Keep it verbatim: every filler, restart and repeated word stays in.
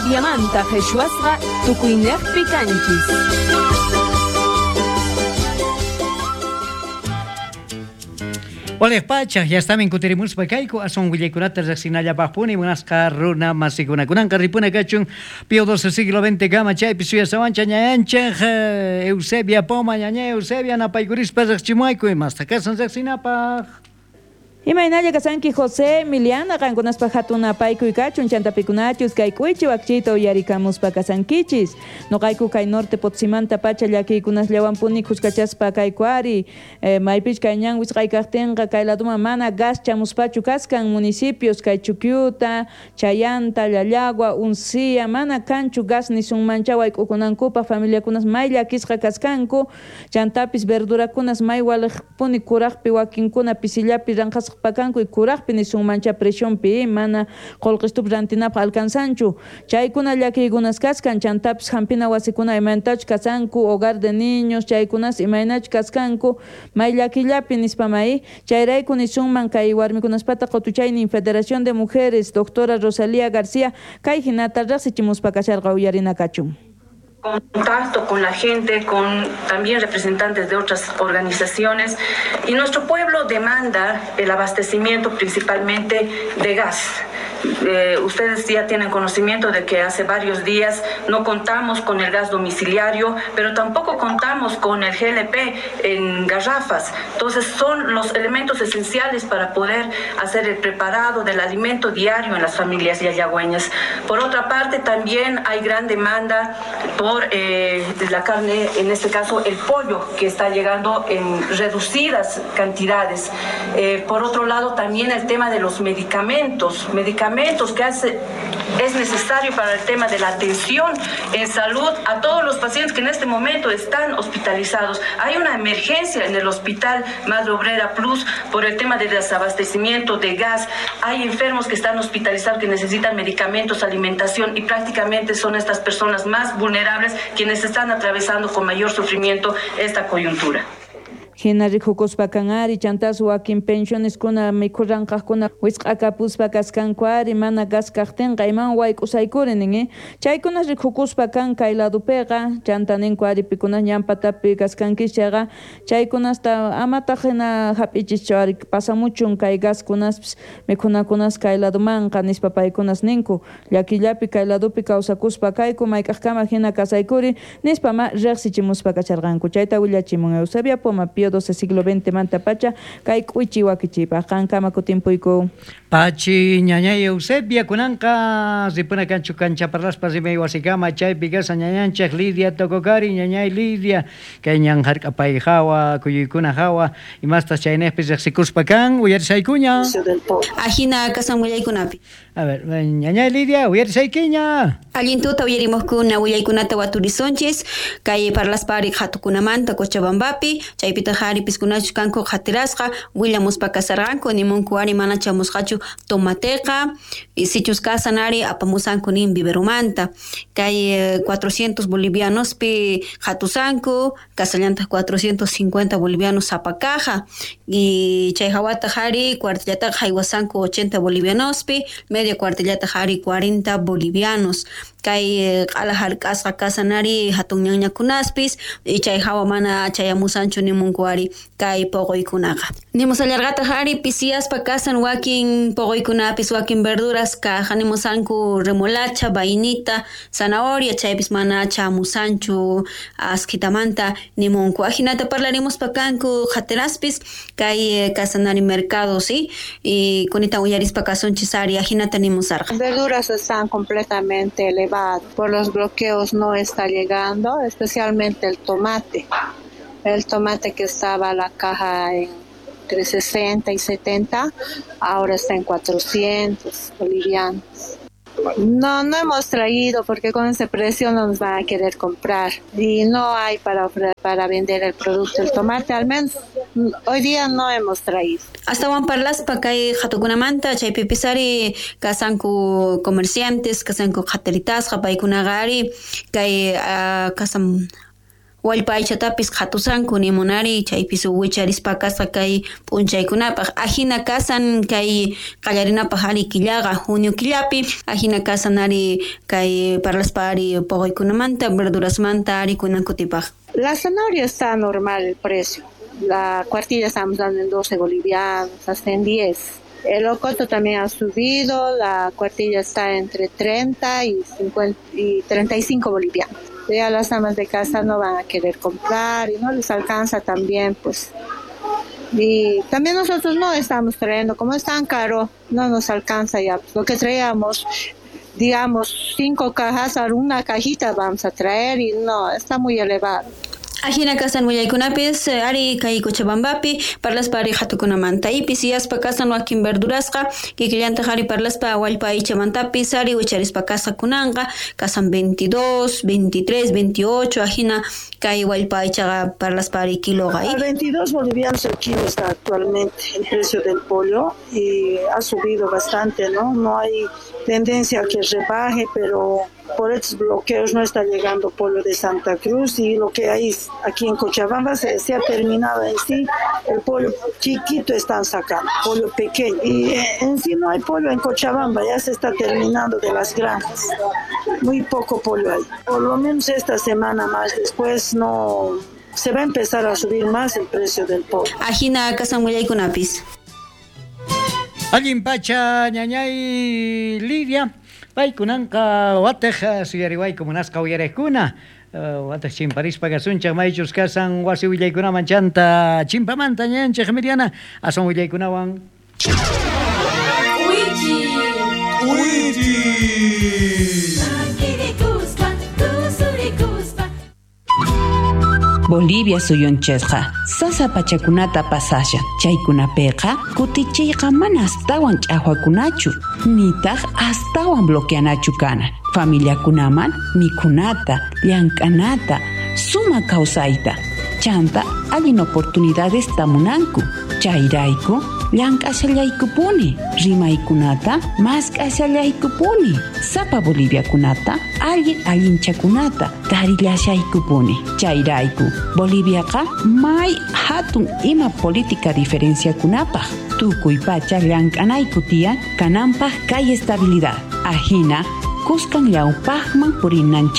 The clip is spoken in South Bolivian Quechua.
Boliviamanta qhichwasqa tukuyniqpi kanchis. Waliq pachaq, ya estamin kutirimuspa kayku aswan willaykunata riqsinallapaqpuni munasqa runa masikuna. Kunanqa ripuna kachun Pío doce siglo veinte kama chaypi suyasawancha ñayanchej Eusebia Poma, ñaña Eusebia napaykurispa riqchimuayku imasta kasan riqsinapaq. Imaynalla kasanki José Emiliana qankunaspa hatun apaykuy kachun chantapikunachus kay k'uychi wakchiyta uyarikamuspa kasankichis. Noqayku kay norte Potosímanta pacha llakiykunasllawanpuni khuskachaspa kayku ari. Eh, maypich kay ñan wisq'aykaqtinqa kay laduman mana gas chamuspachu kaskan municipios kay Chuquiuta, Chayanta, Llallagua, Uncía, mana kanchu gas nisunmancha wayk'ukunankupaq familiakunas may llakisqa kaskanku. Chantapis verdurakunas may waliqpuni kuraqpi wakinkuna pisillapi ranqasqa pakanku y kuraqpi nisunmancha presionpi mana qullqistup rantinapaq alcanzanchu. Chaykuna llakiykunas kaskan chantapis hampina wasikuna imaynatachus kasanku hogar de niños chaykunas imaynachus kaskanku may llakillapi nispa may chayrayku nisunman kay warmikunaspata qutuchaynin Federación de Mujeres doctora Rosalía García kay hinata riqsichimuspa kasharqa uyarina kachun. Contacto con la gente, con también representantes de otras organizaciones, y nuestro pueblo demanda el abastecimiento principalmente de gas. Eh, ustedes ya tienen conocimiento de que hace varios días no contamos con el gas domiciliario, pero tampoco contamos con el G L P en garrafas. Entonces son los elementos esenciales para poder hacer el preparado del alimento diario en las familias yayagüeñas. Por otra parte, también hay gran demanda por eh, la carne, en este caso el pollo, que está llegando en reducidas cantidades. Eh, por otro lado, también el tema de los medicamentos, medicamentos que hace, es necesario para el tema de la atención en salud a todos los pacientes que en este momento están hospitalizados. Hay una emergencia en el Hospital Madre Obrera Plus por el tema de desabastecimiento de gas. Hay enfermos que están hospitalizados que necesitan medicamentos, alimentación, y prácticamente son estas personas más vulnerables quienes están atravesando con mayor sufrimiento esta coyuntura. Hina rikukuspa kan ari chantas wakin pensioneskuna mikhurranqaqkuna wisq'akapuspa kaskanku ari mana gas kaqtinqa iman wayk'usaykuri nin eh? Chaykunas rikukuspa kan kay ladupiqa chanta ninku ari pikunas ñanpatapi kaskankichis chayqa chaykunasta amataq hina hap'ichischu ari pasamuchun kay gaskunaspis mikhunakunas kay ladumanqa nispa paykunas ninku llakillapi kay ladupi kawsakuspa kayku mayk'aqkama hina kasaykuri nispa ma riqsichimuspa kacharqanku. Chayta willachimun Eusebia Poma Pío doce siglo veinte manta pacha kay k'uychi wakichipaq qankama kutimpuyku. Pachi ñañay Eusebia kunanqa ripuna kanchu kancha parlaspa rimay wasikama chaypi kasa ñañanchej Lidia Tococari ñañay Lidia kay ñan hark'apay hawa kuyuykuna hawa imastas chaynejpi riqsikuspa kan uyarisaykuña. Ajina kasan willaykunapi. A ver, ñañay Lidia uyarisaykiña. Allintuta uyarimuqkuna willaykunata waturisonchis kay parlaspari qhatukunamanta Cochabambapi chaypitaq ari piskunachus kanku qhatirasqa willamuspa kasarqanku nimunku ari mana chamusqachu tomateqa sichus kasan ari apamusanku nin viverumanta kay cuatrocientos bolivianospi qhatusanku kasallantaq cuatrocientos cincuenta bolivianos sapa caja y chay hawataq ari cuartillataqa haywasanku ochenta bolivianospi media cuartillataq ari cuarenta bolivianos kay q'ala hark'asqa kasan ari hatun ñañakunaspis y chay hawa mana chayamusanchu nimunku ari kay poqoykunaqa. Nimusallarqataq ari pisiyaspa kasan wakin poqoykunapis wakin verduras kaja nimusanku remolacha, vainita, zanahoria chaypis mana chamusanchu asquitamanta nimunku. Ajinata parlarimuspa kanku qhatiraspis kay kasan ari mercado, ¿sí? Y kunita uyarispa kasunchis ari ajinata nimusarqa. Verduras están completamente elevadas, por los bloqueos no está llegando, especialmente el tomate. El tomate que estaba la caja en entre sesenta y setenta, ahora está en cuatrocientos bolivianos. No, no hemos traído porque con ese precio no nos van a querer comprar y no hay para ofre-, para vender el producto, el tomate, al menos hoy día no hemos traído. Astawan parlaspa kay qhatukunamanta chaypipis ari kasanku comerciantes, kasanku qhatiritasqa paykunaqa ari kay uh, kasan wallpa aychatapis qhatusanku nimunari chaypis wicharispa kasqa kay p'unchaykunapaq ajina kasan kay qallarinapaq ari killaqa junio killapi ajina kasan ari kay parlaspa ari poqoykunamanta verdurasmanta ari kunan kutipaq. La zanahoria está normal el precio. La cuartilla estamos dando en doce bolivianos, hasta en diez. El locoto también ha subido, la cuartilla está entre treinta y cincuenta y treinta y cinco bolivianos. Ya las amas de casa no van a querer comprar y no les alcanza también, pues. Y también nosotros no estamos trayendo, como es tan caro, no nos alcanza ya. Lo que traíamos, digamos, cinco cajas, a una cajita vamos a traer y no, está muy elevado. Ajina kasan willaykunapis ari kay Cochabambapi parlaspa ari hatukunamanta ipis yaspa kasan wakin verdurasqa kikillantaq ari parlaspa wallpa aychamantapis ari wicharispa kasqa kunanqa kasan veintidós, veintitrés, veintiocho ajina kay wallpa aychaqa parlaspa ari kiloqa. A veintidós bolivianos el kilo está actualmente el precio del pollo y ha subido bastante, ¿no? No hay tendencia a que rebaje, pero por estos bloqueos no está llegando pollo de Santa Cruz y lo que hay aquí en Cochabamba se, se ha terminado en sí, el pollo chiquito están sacando, pollo pequeño. Y en sí no hay pollo en Cochabamba, ya se está terminando de las granjas, muy poco pollo hay. Por lo menos esta semana más, después no se va a empezar a subir más el precio del pollo. Ajina kasan willaykunapis. Allin pacha ñañay Lidia. Paykunanqa watej suyariwayku munasqa uyariqkuna watej chimparispa kasunchaq maychus kasan wasi willaykunaman chanta chimpamanta ñanchaq Miriana asun willaykunawan. Uichi Uichi Bolivia suyunchikqa sasa pachakunata pasashan chaykunapiqa kutichiyqa mana astawan ch'aqwakunachu nitaq astawan bloqueanachu kana familiakunaman mikhunata llank'anata suma kawsayta chanta allin oportunidades tamunanku chayrayku llank'ashallaykupuni rimaykunata mask'ashallaykupuni sapa boliviakunata allin allinchakunata tarillashaykupuni chayrayku Boliviaqa may hatun ima política diferenciakunapaq tukuy pacha llank'anayku tiyan kananpaq kay estabilidad ajina kuskan llawpaqman purinanchikpaq.